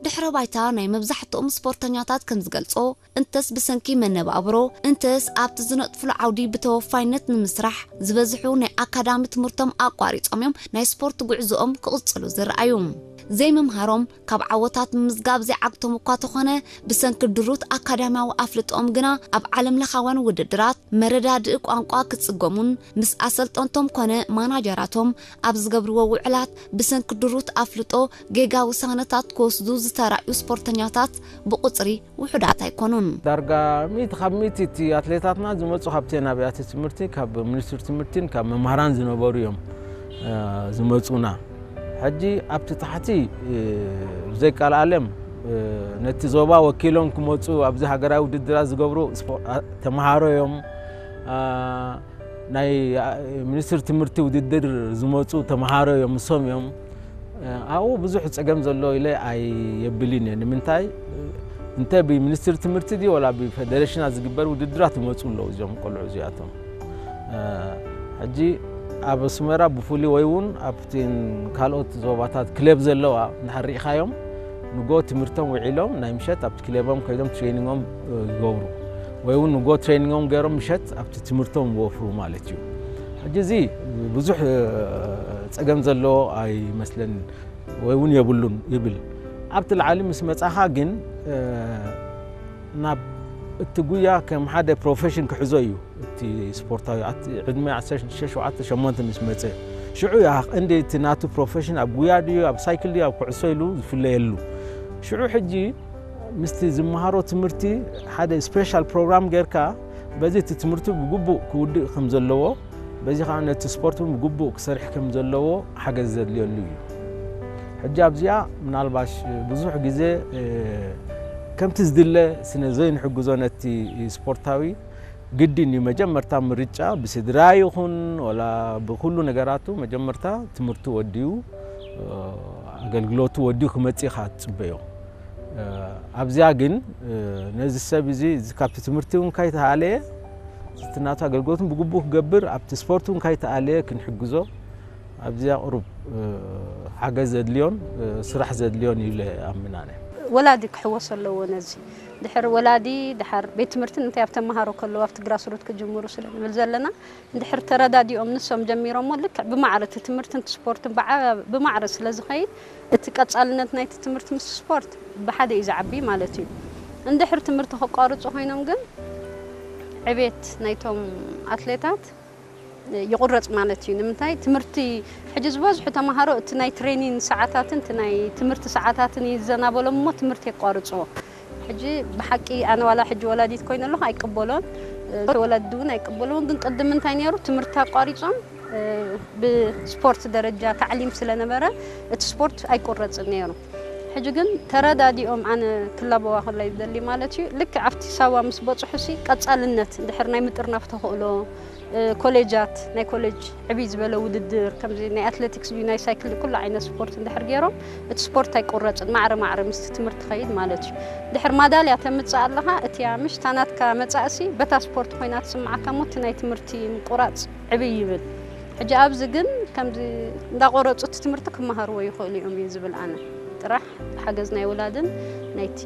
ድሕረ ባይታ ናይ መብዛሕትኦም ስፖርተኛታት ከም ዝገልጾ፣ እንተስ ብሰንኪ መነባብሮ፣ እንተስ ኣብቲ ዝነጥፍሉ ዓውዲ ብተወፋይነት ንምስራሕ ዝበዝሑ ናይ ኣካዳሚ ትምህርቶም ኣቋሪጾም እዮም ናይ ስፖርት ጉዕዞኦም ክቕጽሉ ዝረኣዩ። ዘይምምሃሮም ካብ ዓወታት ምምዝጋብ ዘይዓግቶም እኳ ተኾነ፣ ብሰንኪ ድሩት ኣካዳሚያዊ ኣፍልጦኦም ግና ኣብ ዓለም ለኻውያን ውድድራት መረዳድኢ ቋንቋ ክጽገሙን ምስ ኣሰልጠንቶም ኮነ ማናጀራቶም ኣብ ዝገብርዎ ውዕላት ብሰንኪ ድሩት ኣፍልጦ ጌጋ ውሳነታት ክወስዱ ዝተራእዩ ስፖርተኛታት ብቁጽሪ ውሑዳት ኣይኮኑን። ዳርጋ ሚእቲ ካብ ሚእቲ እቲ ኣትሌታትና ዝመፁ ካብተን ኣብያተ ትምህርቲ፣ ካብ ሚኒስትሪ ትምህርቲን ካብ መምሃራን ዝነበሩ እዮም ዝመፁና። ሕጂ ኣብቲ ታሕቲ ብዘይቃልዓለም ነቲ ዞባ ወኪሎም ክመፁ ኣብዚ ሃገራዊ ውድድራት ዝገብሩ ተምሃሮ እዮም። ናይ ሚኒስትሪ ትምህርቲ ውድድር ዝመፁ ተምሃሮ እዮም፣ እሶም እዮም። ኣብኡ ብዙሕ ፀገም ዘሎ ኢለ ኣይየብልን እየ። ንምንታይ እንተ ብሚኒስትሪ ትምህርቲ ድዩ ወላ ብፌደሬሽናት ዝግበር ውድድራት ይመፁ ኣለዉ እዚኦም ቆልዑ እዚኣቶም። ሕጂ ኣብ ኣስመራ ብፍሉይ ወይ እውን ኣብቲ ካልኦት ዞባታት ክለብ ዘለዋ እንድሕር ርኢኻዮም ንጎ ትምህርቶም ውዒሎም ናይ ምሸት ኣብቲ ክለቦም ከይዶም ትሬኒንጎም ይገብሩ፣ ወይ እውን ንጎ ትሬኒንጎም ገይሮም ምሸት ኣብቲ ትምህርቶም ይወፍሩ ማለት እዩ። ሕጂ እዚ ብዙሕ ፀገም ዘለዎ ኣይመስለንን ወይ እውን የብሉን ይብል። ኣብቲ ላዕሊ ምስ መፃኻ ግን ናብ እቲ ጉያ ከም ሓደ ፕሮፌሽን ክሕዞ እዩ እቲ ስፖርታዊ። ዕድመ ዓሰርተ ሽዱሽተ ሸውዓተ ሸሞንተ ምስ መፀ ሽዑ ያ እንደ እቲ ናቱ ፕሮፌሽን ኣብ ጉያ ድዩ ኣብ ሳይክል ድዩ ኣብ ኩዕሶ ኢሉ ዝፍለየሉ። ሽዑ ሕጂ ምስቲ ዝመሃሮ ትምህርቲ ሓደ ስፔሻል ፕሮግራም ጌርካ በዚ እቲ ትምህርቱ ብግቡእ ክውድእ ከም ዘለዎ በዚ ከዓ ነቲ ስፖርት እውን ብግቡእ ክሰርሕ ከም ዘለዎ ሓገዝ ዘድልየሉ እዩ። ሕጂ ኣብዚኣ ምናልባሽ ብዙሕ ግዜ ከምቲ ዝድለ ስነ ዘይንሕግዞ ነቲ ስፖርታዊ ግድን እዩ። መጀመርታ ምርጫ ብስድራ ይኹን ወላ ብኩሉ ነገራቱ መጀመርታ ትምህርቱ ወዲኡ ኣገልግሎቱ ወዲኡ ክመጽእ ኢኻ ትጽበዮ። ኣብዚኣ ግን ነዚ ሰብ እዚ ካብቲ ትምህርቲ እውን ካይተሃለየ እቲ ናቱ ኣገልግሎትን ብግቡእ ክገብር ኣብቲ ስፖርት እውን ካይተኣለየ ክንሕግዞ ኣብዚኣ ቁሩብ ሓገዝ ዘድልዮን ስራሕ ዘድልዮን እዩ ኢለ ኣምን ኣነ። ወላዲ ክሕወስ ኣለዎ ነዚ። ድሕር ወላዲ ድሓር ቤት ትምህርትን እንታይ ኣብ ተመሃሮ ከለዉ ኣብቲ ግራስሩት ክጅምሩ ስለ ንብል ዘለና እንድሕር ተረዳዲኦም ንሶም ጀሚሮሞ ልክዕ ብማዕረ እቲ ትምህርትን እቲ ስፖርትን ብዓ- ብማዕረ ስለ ዝኸይድ እቲ ቀጻልነት ናይቲ ትምህርቲ ምስ ስፖርት ብሓደ እዩ ዝዓቢ ማለት እዩ። እንድሕር ትምህርቲ ከቋርጹ ኮይኖም ግን ዕቤት ናይቶም ኣትሌታት ይቑረጽ ማለት እዩ። ንምንታይ ትምህርቲ ሕጂ ዝበዝሑ ተምሃሮ እቲ ናይ ትሬኒን ሰዓታትን እቲ ናይ ትምህርቲ ሰዓታትን እዩ ዝዘናበሎም እሞ ትምህርቲ የቋርጽዎ። ሕጂ ብሓቂ ኣነ ዋላ ሕጂ ወላዲት ኮይነ ኣለኹ ኣይቅበሎን፣ ወላዲ እውን ኣይቅበልዎን። ግን ቅድም እንታይ ነይሩ ትምህርቲ ኣቋሪጾም ብስፖርት ደረጃ ታዕሊም ስለነበረ እቲ ስፖርት ኣይቁረጽን ነይሩ። ሕጂ ግን ተረዳዲኦም ኣነ ክላበዋ ከላይ ዝደሊ ማለት እዩ ልክዕ ኣብቲ ሳዋ ምስ በጽሑ ሲ ቀጻልነት እንድሕር ናይ ምጥርናፍ ተኽእሎ ኮሌጃት ናይ ኮሌጅ ዕብይ ዝበለ ውድድር ከምዚ ናይ ኣትሌቲክስ ድዩ ናይ ሳይክል ኩሉ ዓይነት ስፖርት እንድሕር ገይሮም እቲ ስፖርት ኣይቁረጽን ማዕረ ማዕረ ምስቲ ትምህርቲ ኸይድ ማለት እዩ። ድሕር ማዳልያ ተምጽእ ኣለኻ እቲያ ምሽ ታናትካ መጻእሲ በታ ስፖርት ኮይና ትስምዓካ ሞ እቲ ናይ ትምህርቲ ምቁራጽ ዕብይ ይብል። ሕጂ ኣብዚ ግን ከምዚ እንዳቆረጹ እቲ ትምህርቲ ክመሃርዎ ይኽእሉ እዮም እዩ ዝብል ኣነ። ጥራሕ ሓገዝ ናይ ወላድን ናይቲ